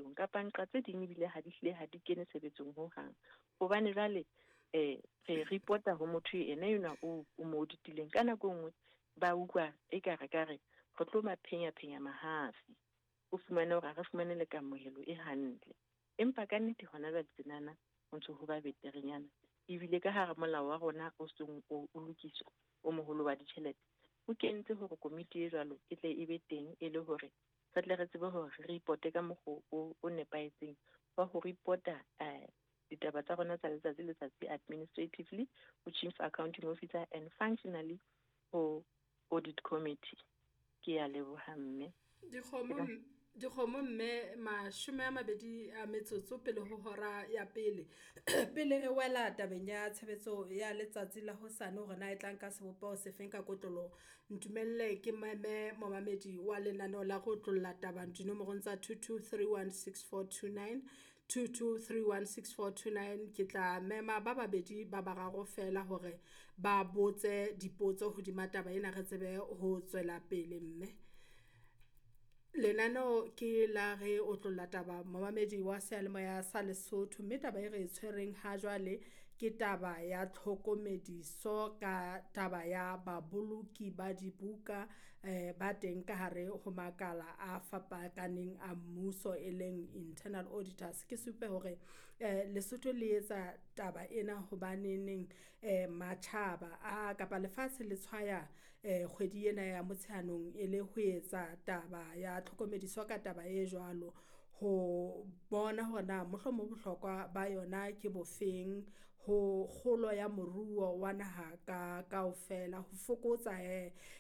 tshebetsong kapa nqa tse ding ebile ha di hlile ha di kene tshebetsong hohang. Hobane jwale re report-a ho motho ena enwa o mo auditileng. Ka nako e nngwe ba utlwa ekare ka re re tlo ba phenya-phenya mahafi. O fumane hore ha re fumane le kamohelo e hantle. Empa ka nnete hona jwale tjenana ho ntso ho ba beterenyana. Ebile ka hara molao wa rona o seng o lokiswa o moholo wa ditjhelete, o kentse hore komiti e jwalo e tle e be teng e le hore re tle re tsebe hore re reporte ka mokgwa o nepahetseng wa ho reporta ditaba tsa rona tsa letsatsi le letsatsi administratively ho Chief Accounting Officer and functionally ho Audit Committee. Ke a leboha mme. Dikgomo mme 20 a metsotso pele ho hora ya pele. Pele re wela tabeng ya tshebetso ya letsatsi la hosane hore na e tla nka sebopeho sefeng ka kotloloho, ntumelle ke meme momamedi wa lenaneo la go otlolla taba dinomorong tsa 22316429, 22316429. Ke tla mema ba babedi ba bararo fela hore ba botse dipotso hodima taba ena re tsebe ho tswela pele mme. Lenaneo ke la re otlolla taba momamedi wa seyalemoya sa Lesotho, mme taba e re e tshwereng ha jwale ke taba ya tlhokomediso ka taba ya baboloki ba dibuka ba teng ka hare ho makala a fapakaneng a mmuso e leng internal auditors. Ke supe hore Lesotho le etsa taba ena hobaneneng matjhaba a kapa lefatshe le tshwaya kgwedi ena ya Motsheanong e le ho etsa taba ya tlhokomediso ka taba e jwalo, ho bona hore na mohlomong bohlokwa ba yona ke bofeng ho kgolo ya moruo wa naha ka kaofela, ho fokotsa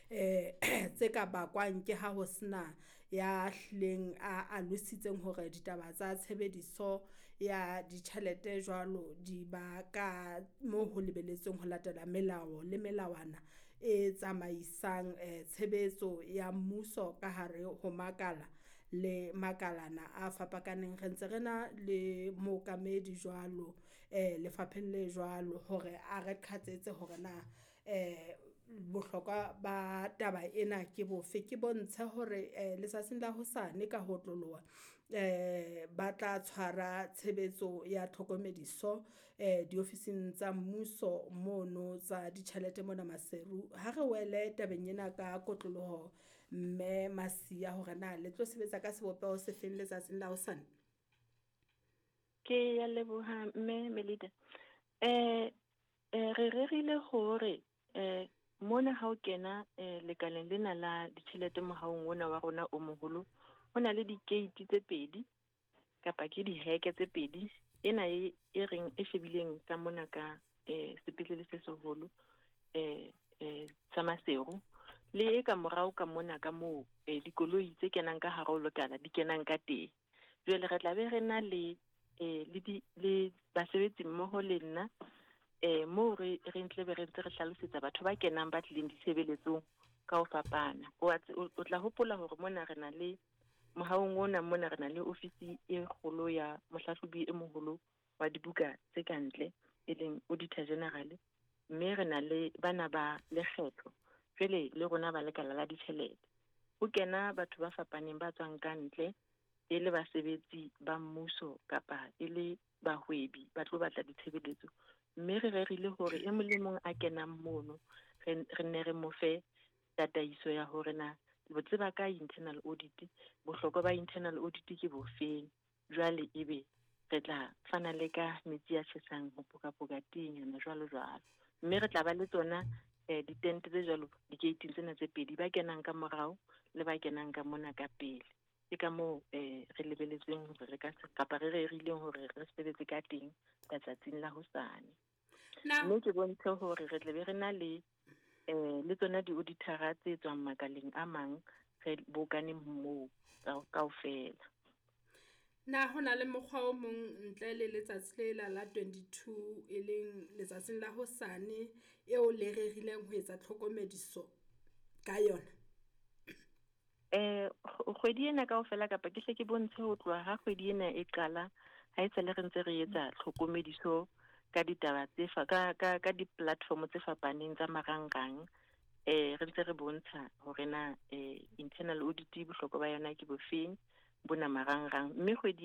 tse ka bakwang ke ha ho sena ya hlileng a alositseng hore ditaba tsa tshebediso ya ditjhelete jwalo di ba ka mo ho lebelletsweng ho latela melao le melawana e tsamaisang tshebetso ya mmuso ka hare ho makala le makalana a fapakaneng. Re ntse re na le mookamedi jwalo lefapheng le jwalo hore a re qhatsetse hore na bohlokwa ba taba ena ke bofe. Ke bontshe hore letsatsing la hosane ka ho otloloha ba tla tshwara tshebetso ya tlhokomediso diofising tsa mmuso mono tsa ditjhelete mona Maseru. Ha re wele tabeng ena ka kotloloho mme Masia hore na le tlo sebetsa ka sebopeho se feng letsatsing la hosane. Ke ya leboha mme Melida. Re rerile hore mona ha o kena lekaleng lena la ditjhelete mohaong ona wa rona o moholo, ho na le di-gate tse pedi kapa ke diheke tse pedi. Ena e reng e shebileng ka mona ka sepetlele se seholo sa Maseru, le e ka morao ka mona ka moo dikoloi tse kenang ka hare ho lekala di kenang ka teng. Jwale re tla be re na le le basebetsi mmoho le nna moo re ntle be re ntse re hlalosetsa batho ba kenang ba tlileng ditshebeletsong ka ho fapana. O tla hopola hore mona re na le mohaong ona mona re na le ofisi e kgolo ya mohlahlobi e moholo wa dibuka tse ka ntle e leng Auditor General, mme re na le bana ba lekgetho jwale le rona ba lekala la ditjhelete. Ho kena batho ba fapaneng ba tswang ka ntle e le basebetsi ba mmuso kapa e le bahwebi ba tlo batla ditshebeletso, mme re rerile hore e mong le mong a kenang mono re nne re mo fe tataiso ya hore na bo tseba ka internal audit, bohlokwa ba internal audit ke bofeng. Jwale ebe re tla fana le ka metsi a tjhesang ho pokapoka teng jwalo jwalo, mme re tla ba le tsona ditente tse jwalo di-gate tsena tse pedi, ba kenang ka morao le ba kenang ka mona ka pele. Ke ka moo re lebeletseng hore re ka kapa re rerileng hore re sebetse ka teng letsatsing la hosane. Mme ke bontshe hore re tla be re na le le tsona di-auditora tse tswang makaleng a mang re bokaneng moo kaofela. Na ho na le mokgwa o mong ntle le letsatsi le la 22 e leng letsatsing la hosane eo le rerileng ho etsa tlhokomediso ka yona? Kgwedi ena kaofela kapa ke hle ke bontshe ho tloha ha kgwedi ena e qala ha e sale re ntse re etsa tlhokomediso ka ditaba tse ka di-platform tse fapaneng tsa marangrang. Re ntse re bontsha hore na internal audit bohlokwa ba yona ke bofeng bona marangrang, mme kgwedi